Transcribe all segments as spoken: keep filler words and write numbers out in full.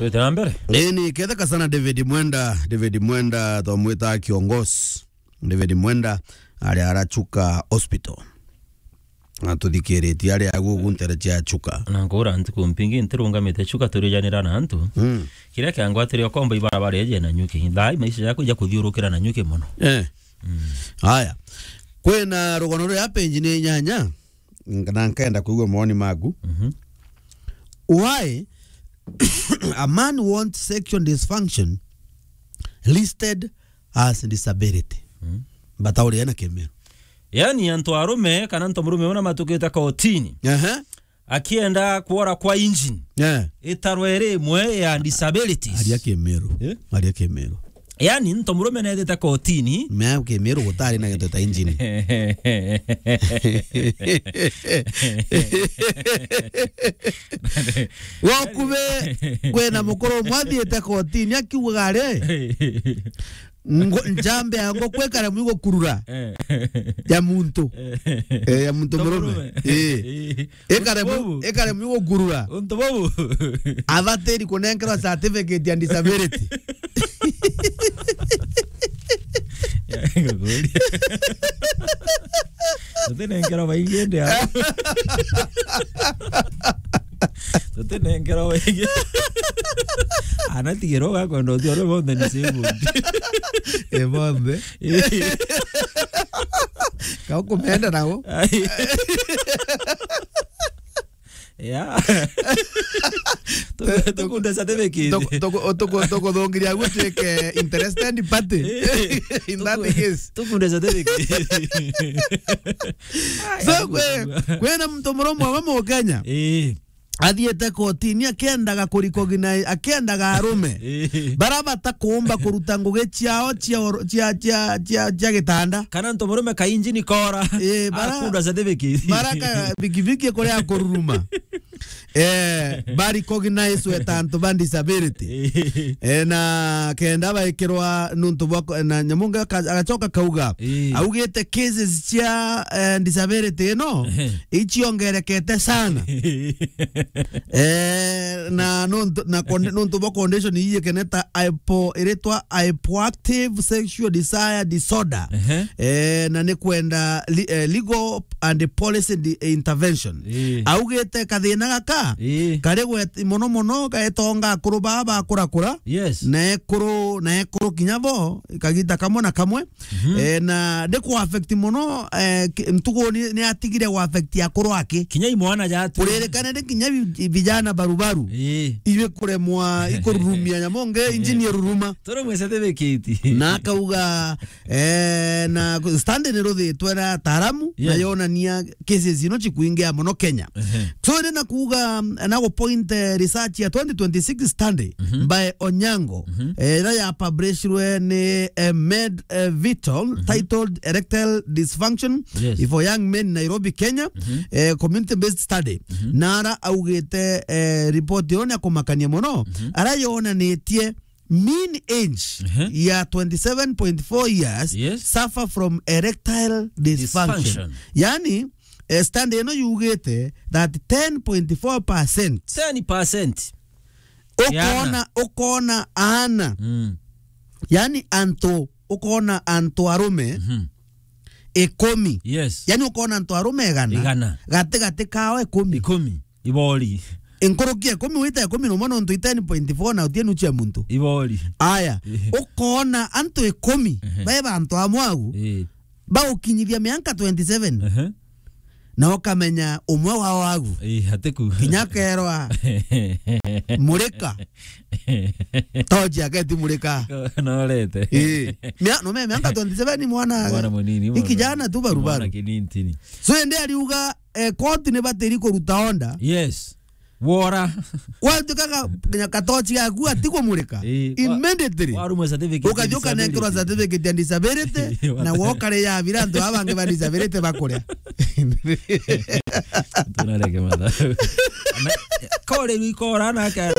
Twite na mbere. Ii, ni ketheka sana David Mwenda, David Mwenda twamwita kiongozi. David Mwenda ari ara Chuka Hospital. Na tuthikiritie ari agu guntere cia Chuka. Na nkura ntuku mpingi ntirungamite Chuka turijanira na antu. Mm. Kiria kiangwatiria ukomba ibarabara eje na nyuki. Thaa ii maisha jaku ja kuthiurukira na nyuki mono. Eh. Mm. Haya. Kwina rugano ruria page ni inyanya. Na nkenda kuigua mawoni maku. Mhm. Why a man wants sexual dysfunction listed as disability? Mm. Batauria na Kimiru. Yani, antu arume kana antu murume una matukite kotini. Aha. Akienda kuora kwa engine. Yeah. Itarwe iri imwe ya disabilities. Aria Kimiru. Eh? Aria Kimiru. Yani, nto murume neethite kotini. Mea Kimiru gutari na gintu ta engine. Wakuve kwina mukuru umwe athiite kotini akiugaga ari, ngo-, njambe ya ngoko ikare mwi gukurura. Eh. Ya muntu. Eh. Eh, ya muntu murume. Murume. Eh. Eh. Ikare mwi-, ikare mwi gukurura. Untu bubu. Abatiri kunenkerwa certificate ya disability. Ya, ngukuria. Tutinenkerwa baingi ndi a. Tutinenkerwa baingi. Ana tigiro gakwenda ucio ore bonthe ni same. E bonthe. Eh. Ka ukumenda nao. Ai. Yeah. Tu-, tukunde certificate. Tuku-, tuku-, tuku-, tukuthungiria gutuike interested party. Eh. In that case. Tukunde certificate. So, kwe-, kwena muntu muromwa wa Mukenya. Eh. Athiete kotini akiendaga kuricognize, akiendaga arume. Eh. Bara batakuumba kuruta ngugi ciao cia oro-, cia, cia, cia, cia gitanda. Kana nto murume ka injini kora. Eh, bara, akunda certificate. Bara ka bikibiki kuria kururuma. Eh, ba recognize we ta antu ba disability. Eh, na kenda baikirwa nuntu bwa ko-, na nyamu nge aka-, agacoka kauga, eh, augite cases cia, eh, disability ino, ehe, iciongerekete sana. Eh, na nuntu, na con-, nuntu bwa condition ii ikene ta hypo-, iritwa hypoactive sexual desire disorder. Ehe. Eh, na ni kwenda li-, eh, legal and policy di-, intervention. Ii. Augite kathina gaka, ii, kari gwet-, mono mono gaetonga akuru baa bakurakura. Yes. Na ekuru, na ekuru kinya bo, kagita kamwe na kamwe. Mhm. Eh, na ndi ku affect mono, eh, ki-, ntugu ni, ni atigire ku affect akuru aki. Kinya i mwana jatu. Kuririkana ndi kinya vi-, vijana barubaru. Ii. Iwe kuremwa, ikururumia nyamu nge, injini iruruma. Turi mwe certificate. Na akauga, eh, na standard ni ruthitwe na ataaramu, yes, na yonania cases ino cikuingia mono Kenya. Ehe. So, ni na kuuga, na gu point, eh, research ya twenty twenty-six study, mhm, by Onyango, mhm, eh, ira ya publishirwe ni, eh, Med, eh, Vital, mhm, titled Erectile Dysfunction, yes, for Young Men, Nairobi, Kenya, mhm, eh, community based study. Mhm. Na ara augite, eh, report yo ni akumakania mono, mhm, ara yonanitie mean age, ehe, ya twenty-seven point four years, yes, suffer from erectile dysfunction. Dysfunction. Yani, eh, study ino yugite that ten point four percent. Ten percent. Ukona, yana, ukona ana. Mm. Yani antu, ukona antu arume, mhm, ikumi. Yes. Yani ukona antu arume igana. Igana. Gati gati kao ikumi. Ikumi. Ibori. Inkuruki ikumi wita ikumi na umwe nontu i ten point four na utie nuchu ya muntu. Ibori. Aya, ehe, ukona antu ikumi, ehe, bae bantu amwe au, eh, baukinyithia mianka twenty-seven. Ehe. Na ukamenya umwe wao agu. Eh, atiku. Kinya kerwa, murika. Toji aketi murika. Norete. Eh. Mia-, no me mianka twenty-seven mwana. Mwana munini, i mwana, kijana tu barubaru. Mwana kinintini. So, ende ariuga, eh, koti ni batiri kuruta onda. Yes. Wora. Watukaga kinya katochi gaku atikumurika. Eh, wa-, immediately. Warumwe certificate ya disability. Ukathi ukanenkerwa certificate ya disability, na wokare ya bira antu abangi ba disability bakuria. Tunareke matha. Na, kore rikora na ka-,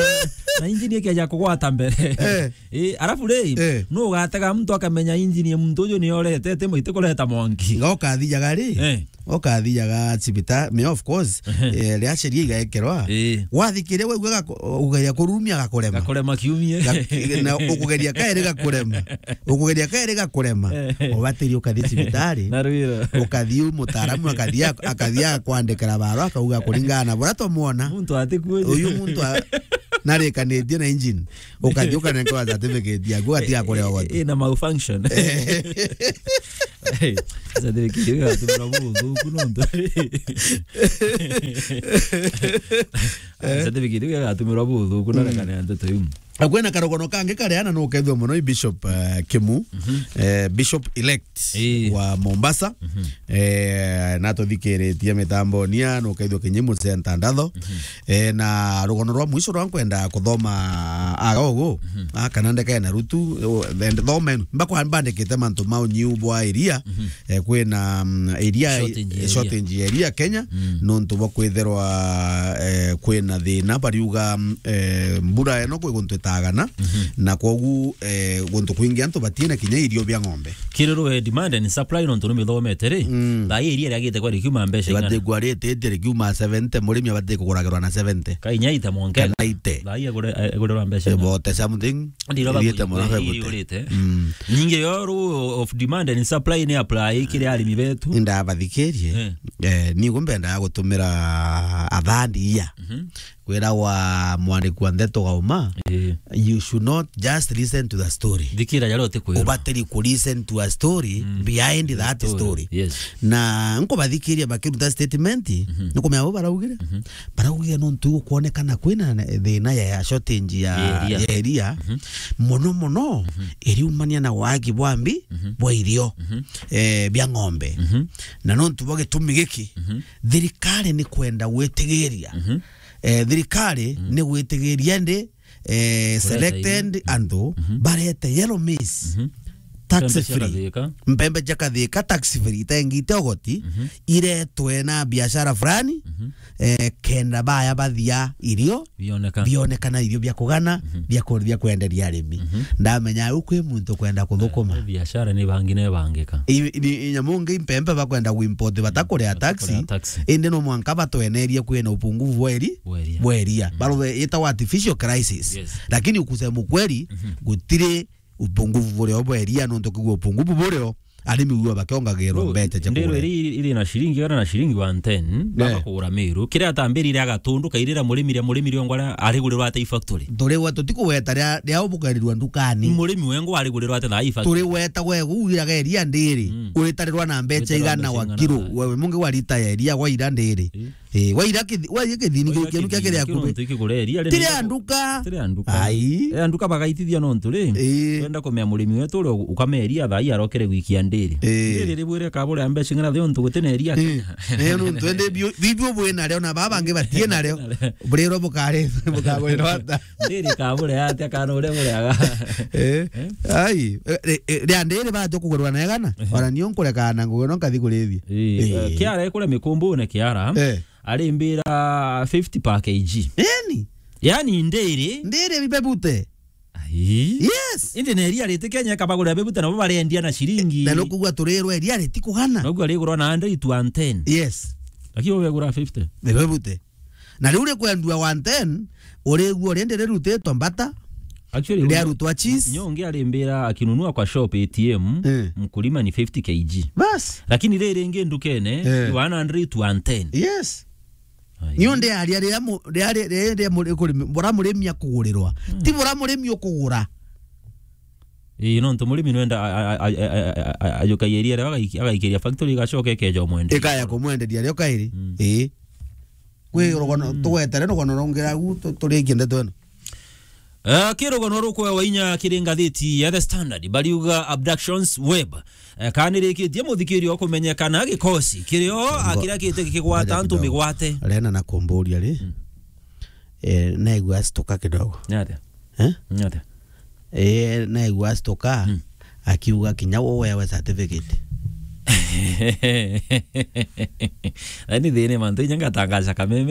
na injini ikeja kugwata mbere. Eh. Eh, alafu ri, eh, no ugatega muntu akamenya injini ya muntu uyu ni orete, ati mwite kureta mwanki. Ngoka thijaga ri. Eh. Ukathiaga cibitari, me of course, Ehe. eh, ria sheria igaekerwa. Ii. Wathikiria waigua gako-, ugeria kurumia gakurema. Gakurema kiumie. Ga-, na ukugeria kairi gakurema. Ukugeria kairi gakurema. Ehe. Ubatiri ukathi cibitari. Na rwira. Ukathi mutaaramu akathi a-, akathi akwandikira barua akauga kuringana na buria twamwona. Muntu atikwiri. Uyu muntu a-, narikanitie na engine. Ukathi ukanenkerwa certificate yaku, ugatiga kuria Eh, eh, ugoti. eh, na malfunction. Eh. Certificate iu igatumira buthuku nontu. Certificate iu igatumira buthuku na Mm. rekania ndeto iu. Na kwina karugono kangi karia na nukethua muno i Bishop, eh, Kimu, Mhm. eh, Bishop elect Ii. wa Mombasa. Mhm. Eh, na tuthikiritie mitamboni ya nukethua kinyi mucenta ndatho. Mhm. Eh, na rugono rwa mwisho rwa nkwenda kuthoma aga ugu, Mhm. a, kana ndeke na rutu, o, then thomenu. Mbakwa mbandikite mantu ma unyiu bwa iria, Mhm. eh, kwina, mm, iria, Shortage ya eh, iria. shortage ya iria Kenya, Mm. nontu bwa kwithirwa, eh, kwina thina, bariuga, mm, eh, mbura eno kwi guntu itagana, Mhm. na kwogu, eh, guntu kwingi antu batina kinya irio bia ng'ombe. Kiriro, eh, demand and supply nontu numithomete ri, Mm. thaa ii iria riagite kwa rikiuma mbeca ing'ana? Ibati kwa rate iti rikiuma seventy, murimi abati kuguragirwa na seventy. Ka inya ita mwanke. Kana ite. Thaa ii agure-, eh, agurirwa mbeca ing'ana? About something. Ndiro iriite baku-, muno iri-, bagute. Iriurite. Mm. Nyingi yo rule of demand and supply ni apply kiri arimi betu. Ndabathikirie. Eh. Eh, ni gumbendaga gutumira athandi iya. Mhm. Kwiragwa mwandiki wa ndeto gauma, Ii. you should not just listen to the story. Thikira jaria utikwirwa. Ubatiri ku listen to a story Mm. behind The that story. story. Yes. Na nkubathikiria bakiruta statement, Mhm. nikumenya bo baraugire. Mhm. Baraugire nontu gukwonekana kwina ne-, thina ya shortage ya, Ya iria. ya iria. Mhm. Muno muno, Mhm. iriumania na wagi bwa mbi, Mhm. bwa irio, Mhm. eh, bia ng'ombe. Mhm. Na nontu bwa gitumi giki, Mhm. thirikari ni kwenda gwitigiria Mhm. eh, thirikari Mm. ni gwitigiria ndi, eh, Kureta selected irio. antu Mhm. barete yellow maize, Mhm. tax Mpembe cia free. Kathika. Mpembe cia Kathika, tax free, itengite ugoti, Mhm. iretwe na biashara fulani, Mhm. eh, kenda baya bathia irio, Bioneka. bionekana irio bia kugana, Mhm. bia ku-, bia kwenderia arimi. Mhm. Ndamenya au kwi muntu kwenda kuthukuma. Eh, biashara ni bangi na ibangika. I-, ni, i nyamu ngi mpembe bakwenda kuimport batakuria taxi, Batakuria taxi. indi no mwanka batwenerie kwina upungufu bwa iri-, Bwa iria. bwa iria. Mm. Barube itawa artificial crisis. Yes. Lakini kusema ukweli, Mhm. gutiri upungufu burio bwa iria, nontu kigua upungufu burio, arimi uo bakiongagirwa Bro, mbeca cia ndiro kuria. Iri, iri na shilingi, kana na shilingi one ten, baba Yeah. kugura miru. Kiria atambirire agatundu, kairira murimi ria murimi riongo aria arigurirwa ate i factory. Turi we, tutikugweta ria, ria ubukerirwa ndukani. Murimi wengo arigurirwa ate thaa i factory. Turi weta we, ugiraga iria ndiri, Mm. uritarirwa na mbeca Uritarirwa igana mbeca wa igana kiro. thaa. Wewe mungi wa lita ya iria wa ira ndiri. Eh. Eh, wa ira kithi-, wa ira kithini Wa ira kiu, kiu kia kithini kiria kiu akube. nontu ikigura iria, Tiri riri anduka. Tiri anduka. Ai. Eh, anduka bagaitithia nontu ri. Eh. Twenda kumea murimi wetu uria ukamea iria thaa i arokere gwikia ndiri. Eh. Ndiri ribwire kabure mbeca ing'ana thiontu gutina iria Eh. Kenya. Eh, nontu ende bio, bibio bwina rio na baba bangi batie na rio. Buriro bukare, bukagurira ata? Ndiri kabure atia kana uria buriaga? Eh? Eh? Ai, eh, eh, ria ndiri baja kugurwa na igana? Ehe. Ona nio nkurekana ngugi no nkathi kurithia. Eh, Eh. eh, Kiara ikuria mikumbune Kiara. Eh. Arimbira fifty per K G. Yani? Yani ndiri. Ndiri bibebute. Ai. Yes. Indi na iria riti Kenya kabagurira bibute nabo barendia na shilingi. Na nukugua turirwa iria riti kugana. Nukugua rigurwa na hundred to one ten. Yes. Lakini ubegura fifty. Bibebute. Na riu rikwendua one ten, urigua rindi rirutitwe mbata, Actually, riarutwa cheese. Nyo ungi arimbira akinunua kwa shop A T M, Eh. mkulima ni fifty K G. Bas. Lakini riri ringi ndukene, Eh. ni one hundred to one ten. Yes. Ai. Ni undi aria riria mu-, riria, riria, riria muri-, kurimi-, bura murimi akugurirwa. Mm. Ti bura murimi ukugura. Ii, nontu murimi nwenda a-, a-, ajukagia iria rio agaiki-, agaikiria factory igacoka ikeja umwenderia. Ikaya kumwenderia rio kairi. Mm. Ii. Kwi rugono, Mm. tugwetere rugono rungi agu tu-, turikie ndeto ino. Eh, ki rugono rukwewa inya kiri ngathiti ya The Standard, bariuga abductions web. Eh, kana nirikitie muthikiria ukumenyekana gikosi kirio Ngo-, akirakite gikigwata ngoja antu kidogo. Migwate. Rena na kumburia ri. Mm. Eh, naigua acituka kidogo. Ni atia? Eh? Ni atia? Eh, naigua acituka, Mm. akiuga kinya we wewe certificate. Yaani thini mantu inya ngatangaca kameme.